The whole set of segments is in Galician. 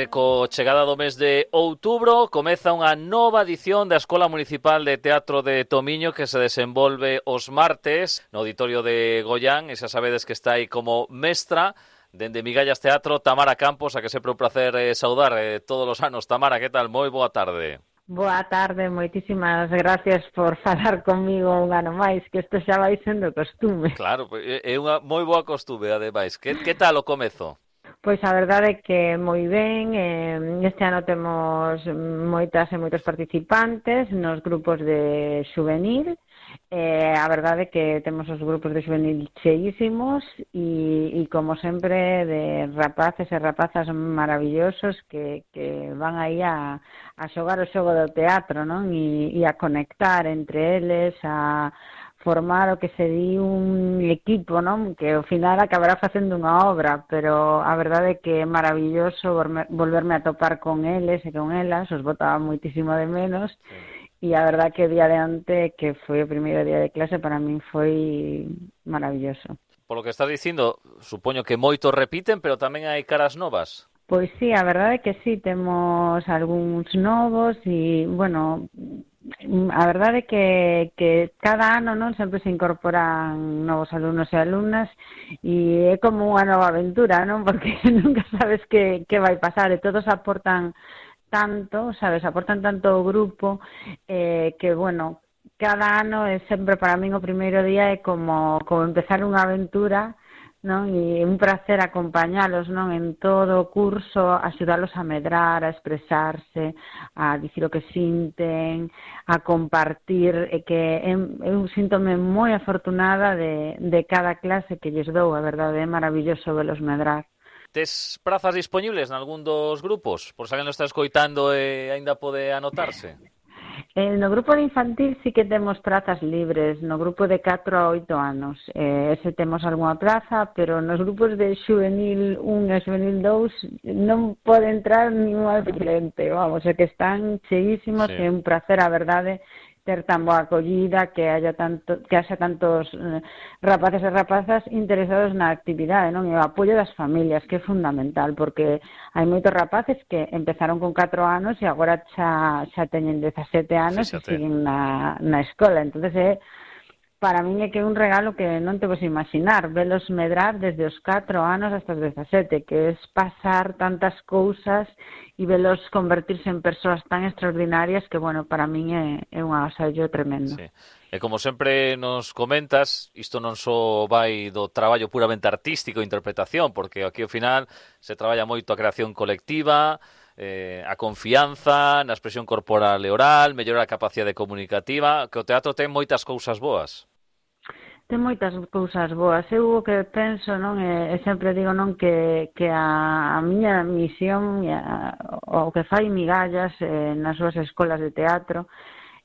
Co chegada do mes de outubro comeza unha nova edición da Escola Municipal de Teatro de Tomiño que se desenvolve os martes no Auditorio de Goián, e xa sabedes que está aí como mestra dende Migallas Teatro Tamara Campos, a que sempre un placer saudar todos os anos. Tamara, que tal? Moi boa tarde. Boa tarde, moitísimas gracias por falar comigo un ano máis, que isto xa vai sendo costume. Claro, é unha moi boa costume, ademais. Que tal o comezo? Pois a verdade é que moi ben, este ano temos moitas e moitos participantes nos grupos de xuvenil, a verdade é que temos os grupos de xuvenil cheísimos e como sempre de rapaces e rapazas maravillosos que van aí a xogar o xogo do teatro, non? E a conectar entre eles, a formar o que se di un equipo, non? Que ao final acabará facendo unha obra, pero a verdade é que é maravilloso volverme a topar con eles e con elas, os botaba moitísimo de menos, e a verdade que o día de ante, que foi o primeiro día de clase, para min foi maravilloso. Polo que estás dicindo, supoño que moitos repiten, pero tamén hai caras novas. Pois sí, a verdade é que sí, temos algúns novos e, bueno, a verdade é que cada ano non sempre se incorporan novos alumnos e alumnas e é como unha nova aventura, non? Porque nunca sabes que vai pasar e todos aportan tanto, sabes, aportan tanto ao grupo que, bueno, cada ano é sempre para min o primeiro día é como empezar unha aventura, non? E un placer acompañalos, non? En todo o curso, axudalos a medrar, a expresarse, a dicir o que sinten, a compartir, e que eu síntome moi afortunada de cada clase que lles dou, a verdade, é maravilloso velos medrar. Tes prazas disponibles nalgún dos grupos? Por se alguén lo está escoitando e aínda pode anotarse? No grupo de infantil sí que temos prazas libres, no grupo de 4 a 8 anos, ese temos algunha plaza, pero nos grupos de xuvenil 1 e xuvenil 2 non pode entrar ningún adolescente, vamos, é que están cheísimos, sí. É un placer, a verdade, ter tan boa acollida, que haxa tantos rapaces e rapazas interesados na actividade, non? E o apoio das familias, que é fundamental, porque hai moitos rapaces que empezaron con 4 anos e agora xa teñen 17 anos. Fíxate. E siguen na escola, entonces para min é que é un regalo que non te vos imaginar, velos medrar desde os 4 anos hasta os 17, que é pasar tantas cousas e velos convertirse en persoas tan extraordinarias que, bueno, para min é un agasallo tremendo. Sí. E como sempre nos comentas, isto non só vai do traballo puramente artístico e interpretación, porque aquí ao final se traballa moito a creación colectiva, a confianza na expresión corporal e oral, mellorar a capacidade comunicativa, que o teatro ten moitas cousas boas. Ten moitas cousas boas. Eu o que penso, non, e sempre digo, non, que a miña misión, o que fai Migallas nas súas escolas de teatro,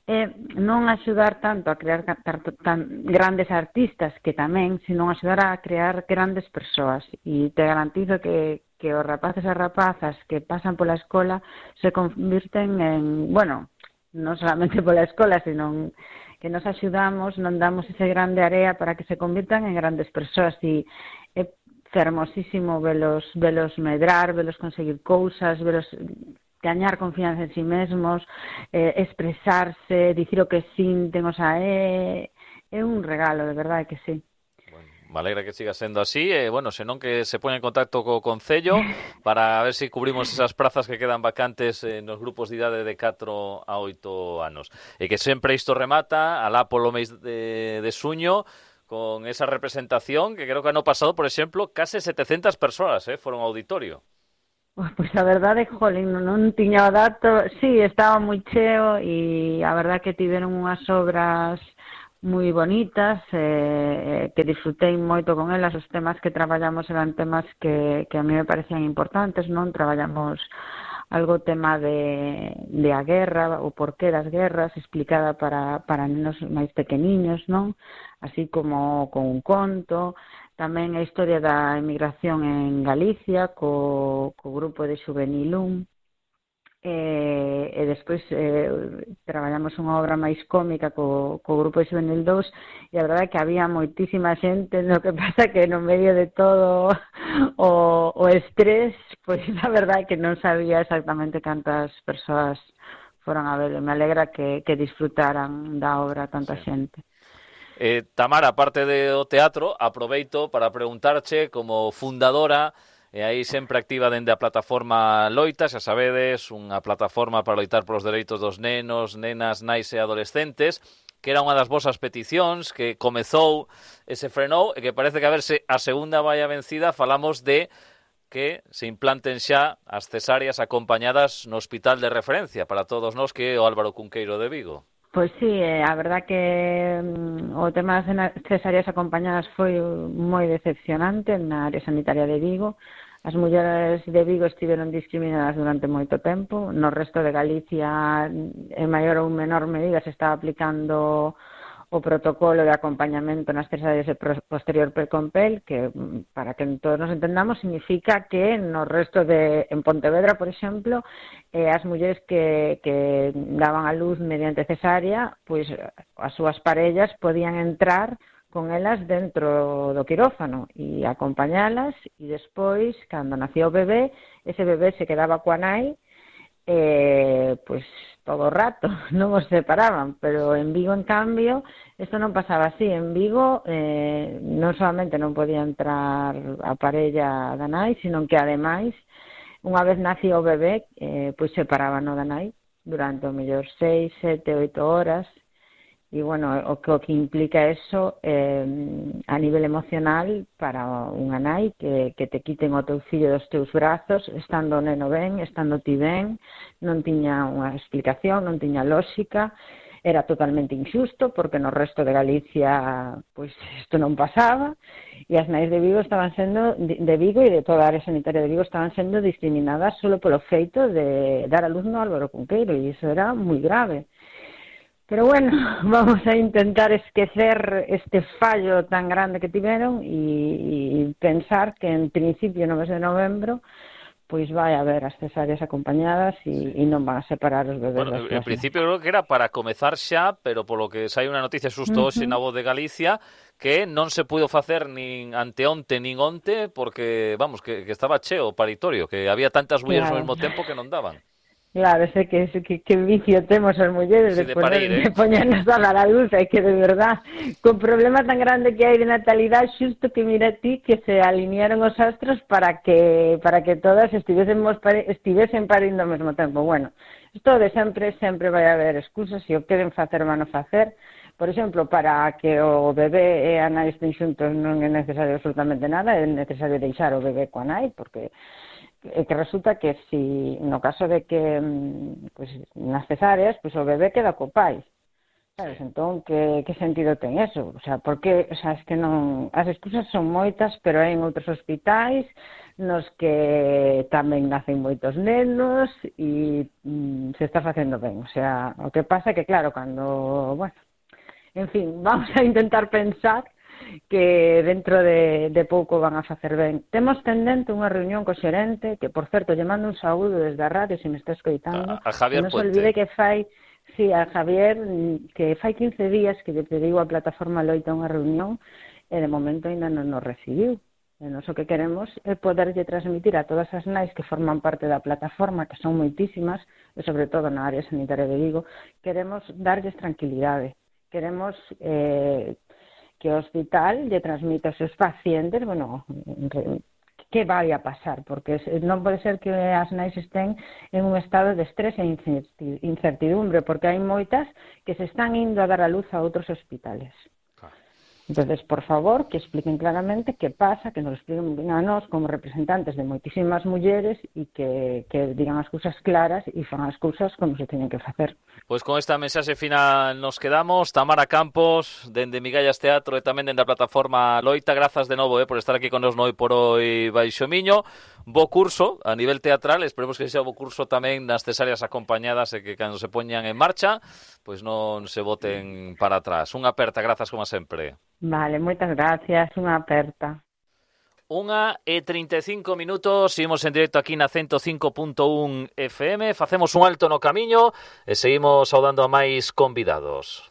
é non axudar tanto a crear tan grandes artistas, que tamén, sino axudar a crear grandes persoas. E te garantizo que os rapaces e rapazas que pasan pola escola se convirten en, bueno, non solamente pola escola, sino que nos axudamos, non damos ese grande area para que se convirtan en grandes persoas, e é fermosísimo velos medrar, velos conseguir cousas, velos gañar confianza en si mesmos, expresarse, dicir o que sinten, o sea, é un regalo, de verdade que sí. Me alegra que siga sendo así, bueno, senón que se pone en contacto co Concello para ver se cubrimos esas prazas que quedan vacantes nos grupos de idade de 4 a 8 anos. E que sempre isto remata, alá polo mes de xuño, con esa representación, que creo que ano pasado, por exemplo, case 700 persoas foron ao auditorio. Pois a verdade, jolín, non tiña o dato, sí, estaba moi cheo e a verdade que tiveron unhas obras moi bonitas, que disfrutei moito con elas. Os temas que traballamos eran temas que a mí me parecían importantes, non? Traballamos algo tema de a guerra, o porqué das guerras, explicada para nenos máis pequeniños, non? Así como con un conto. Tamén a historia da emigración en Galicia, co grupo de Xuvenil 1. e despois traballamos unha obra máis cómica co grupo de Xuvenil 2 e a verdade é que había moitísima xente, no que pasa que no medio de todo o estrés, pois a verdade é que non sabía exactamente cantas persoas foran a ver. Me alegra que disfrutaran da obra tanta xente. Tamara, aparte do teatro, aproveito para preguntarche como fundadora e aí sempre activa dende a plataforma Loita, xa sabedes, unha plataforma para loitar polos dereitos dos nenos, nenas, nais e adolescentes, que era unha das vosas peticións que comezou e se frenou e que parece que a verse a segunda vai a vencida. Falamos de que se implanten xa as cesáreas acompañadas no hospital de referencia para todos nós, que é o Álvaro Cunqueiro de Vigo. Pois sí, a verdad que o tema das cesáreas acompañadas foi moi decepcionante na área sanitaria de Vigo. As mulleres de Vigo estiveron discriminadas durante moito tempo. No resto de Galicia, en maior ou menor medida, se estaba aplicando o protocolo de acompañamento nas cesáreas de posterior precompel, que, para que todos nos entendamos, significa que no resto de, en Pontevedra, por exemplo, as mulleres que daban a luz mediante cesárea, pois as súas parellas podían entrar con elas dentro do quirófano e acompañalas, e despois, cando nacía o bebé, ese bebé se quedaba coa nai, pois todo o rato, non os separaban, pero en Vigo, en cambio, isto non pasaba así. En Vigo non solamente non podía entrar a parella da nai, sino que ademais, unha vez nacía o bebé, pois separaban o da nai durante o mellor 6, 7, 8 horas. E, bueno, o que implica eso a nivel emocional para unha nai que te quiten o teu fillo dos teus brazos, estando o neno ben, estando ti ben, non tiña unha explicación, non tiña lógica, era totalmente injusto, porque no resto de Galicia pois isto non pasaba, e as nais de Vigo estaban sendo, de Vigo e de toda a área sanitaria de Vigo, estaban sendo discriminadas solo polo feito de dar a luz no Álvaro Cunqueiro, e iso era moi grave. Pero bueno, vamos a intentar esquecer este fallo tan grande que tiveron e pensar que en principio no mes de novembro pois vai haber as cesáreas acompañadas e non van a separar os bebés. Bueno, en principio creo que era para comezar xa, pero polo que sai unha noticia xusto hoxe na Voz de Galicia, que non se puido facer nin anteonte nin onte porque, vamos, que estaba cheo o paritorio, que había tantas mulleres ao mesmo tempo que non daban. Claro, sé que vicio temos as mulleres de poñernos a dar a luz, é que de verdad, con problema tan grande que hai de natalidade, xusto que mira ti que se alinearon os astros para que todas estivesen parindo ao mesmo tempo. Bueno, isto de sempre vai haber excusas, se o queren facer van a facer. Por exemplo, para que o bebé e a nai estén xuntos non é necesario absolutamente nada, é necesario deixar o bebé coa nai, porque que resulta que si no caso de que pues, nas cesáreas, pues, o bebé queda co pai, sabes? Entón, que sentido ten eso? O sea, porque, o sea, es que non, as excusas son moitas, pero hai en outros hospitais nos que tamén nacen moitos nenos e se está facendo ben. O sea, o que pasa é que, claro, cando, bueno, en fin, vamos a intentar pensar que dentro de pouco van a facer ben. Temos pendente unha reunión co xerente, que, por certo, lle mando un saúdo desde a radio, se me está escoitando. A Javier non se olvide que fai, sí, a Javier, que fai 15 días que lle pediu a plataforma Loita unha reunión, e de momento ainda non nos recibiu. E nós o que queremos é poderlle transmitir a todas as nais que forman parte da plataforma, que son moitísimas, e sobre todo na área sanitaria de Vigo, queremos darlles tranquilidade. Queremos que o hospital lle transmita aos seus pacientes, bueno, que vai a pasar, porque non pode ser que as nais estén en un estado de estrés e incertidumbre, porque hai moitas que se están indo a dar a luz a outros hospitales. Entonces, por favor, que expliquen claramente que pasa, que nos expliquen a nós como representantes de moitísimas mulleres e que digan as cousas claras e fan as cousas como se teñen que facer. Pois con esta mensaxe final nos quedamos. Tamara Campos, dende Migallas Teatro e tamén dende a plataforma Loita, grazas de novo por estar aquí con nos Noi por Hoi Baixo Miño. Bo curso a nivel teatral, esperemos que sea bo curso tamén nas cesáreas acompañadas e que cando se poñan en marcha, pois non se boten para atrás. Unha aperta, grazas como sempre. Vale, moitas gracias, unha aperta. 1:35, seguimos en directo aquí na 105.1 FM, facemos un alto no camiño e seguimos saudando a máis convidados.